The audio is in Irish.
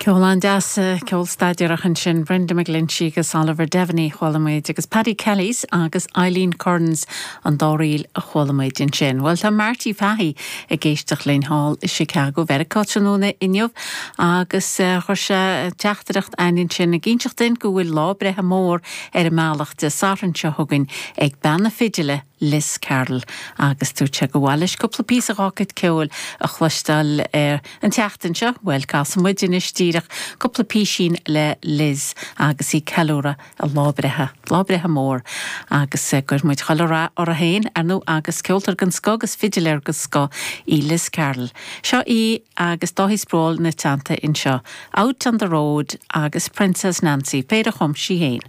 Ceol an-deas, ceol staidéarach ansin, Brenda McGlinchey agus Oliver Devaney a chuala muid, agus Paddy Kellys agus Eileen Kearns an dá ríl a chuala muid ansin. Bhuel, tá Marty Fahey ag éisteacht linn thall i Chicago, Mheiriceá tráthnóna inniu agus chuir sé teachtaireacht a'ainn ansin ag inseacht duinn go bhfuil lá breithe mór ar an mbealach Dé Sathairn seo chugainn ag bean na fidile, Liz Carroll agus dúirt sé gur mhaith leis cúpla píosa dhá cuid ceoil a chloisteáil an tseachtain seo. Bhuel, casfaidh muid anois díreach cúpla písín le Liz agus í ag ceiliúradh a lá breithe, lá breithe mór agus gcuir muid chuile rath uirthi féin, ar ndóigh, agus ceoltóir den scoth agus fidiléir den scoth í Liz Carroll. Seo í agus Dáithí Sproule ina teannta anseo, Out on the Road agus Princess Nancy, péire a chum sí féin.